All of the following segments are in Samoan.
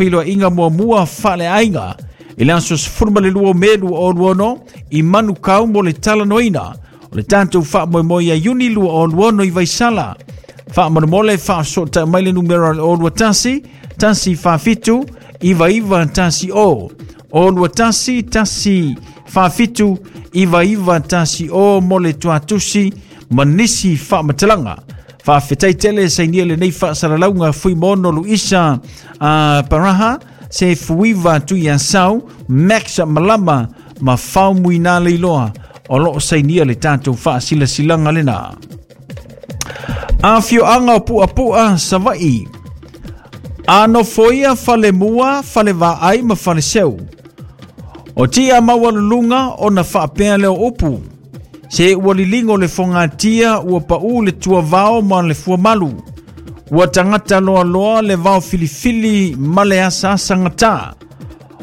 Feiloaiga muamua faaleaiga i le aso 12 o Me 2026 i Manukau mo le talanoaina o le tatou faamoemoe ia Iuni 2026 i Vaisala. Faamolemole faafesootai mai le numera o le 021 147 9910, 021 147 9910 mo le tuatusi ma nisi faamatalaga. Faafetai tele sainia lenei faasalalauga Fuimono Luisa Paraha, se Fuiva Tuiasau, Max Malama ma Faumuina Leiloa o loo sainia le tatou faasilasilaga lena. Afioaga o Puapua Savaii. A nofoia falemua, falevaai ma faleseu. O tia maualuluga ona faapea lea o upu. Se ua liligo le fogatia, ua pau le tuavao ma le fuamalu. Ua tagata loaloa le vao filifili ma le asaasagata.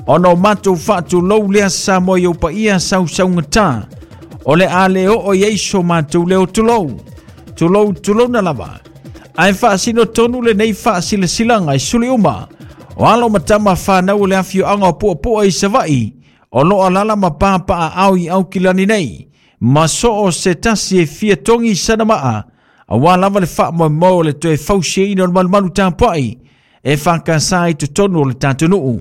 Ona o matou faatulou lea Samoa i ou paia sausaugata. O le a le oo i ai so matou leo tulou. Tulou tulouna lava. Ae faasino tonu lenei faasilasilaga i suli uma o alo ma tama whanau o le afioaga o Puapua i Savaii, o loo alala ma papaaao i Aukilani nei, ma soo se tasi e fia togi sana maa, auā lava le faamoemoe o le toe fausiaina o le malumalu tapuai e whakasa i totonu o le tatou nuu.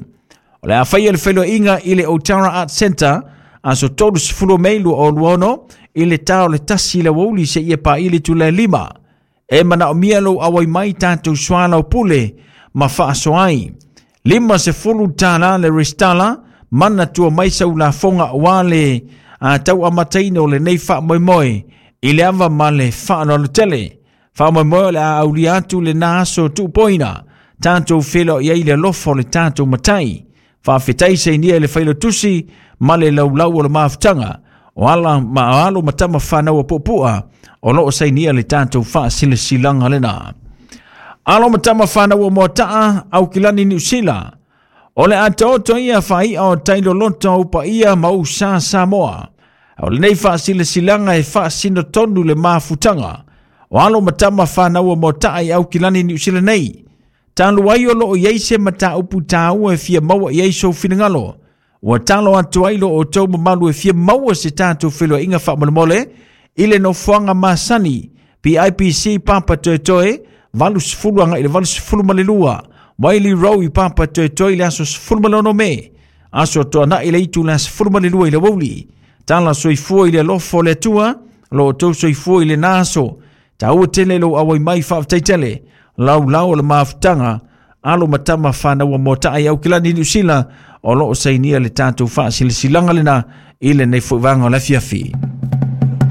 O le a faia le feiloaiga i le Otara Art Centre aso 30 o Mei 2026 i le ta o le 1 i le aoauli seia paia le itula e 5. E manaomia lou auai mai tatou soalaupule ma faasoa ai. $50 le resitala, manatua mai sau lafoga aua le tau amataina o lenei faamoemoe i le ava ma le faaaloalo tele. Faamoemoe o le a aulia atu lena aso tuupoina, tatou feiloai ai i le alofa o le tatou Matai. Faafetai sainia i le failautusi ma le laulau o le mafutaga o ala ma alo ma tama whanau o Puapua o loo sainia le tatou faasilasilaga lena. Alo ma tama whanau o Moataa, Aukilani Niu Sila. O le atoato ia whaia o tailoloto o paia ma usa Samoa. O lenei faasilasilaga e faasino tonu le mafutaga o alo ma tama whanau o Moataa i Aukilani Niu Sila nei. Talu ai o loo i ai se mataupu tāua e fia maua i ai sou finagalo. Ua talo atu ai lo outou mamalu e fia maua se tatou feiloaiga faamolemole i le nofoaga masani PIPC Papatoetoe 80 agai i le 82 Wiley Road i Papatoetoe i le aso 16 Me, aso Toanai i le itula 12 i le aoauli. Tala soifua i le alofa o le Atua, lo outou soifua i lena aso. Taua tele lou auai mai, faafetai tele. Laulau o le mafutaga, alo ma tama whanau o Moataa i Aukilani Niu Sila, o loo sainia le tatou faasilasilaga lena i lenei foi vaega o le afiafi.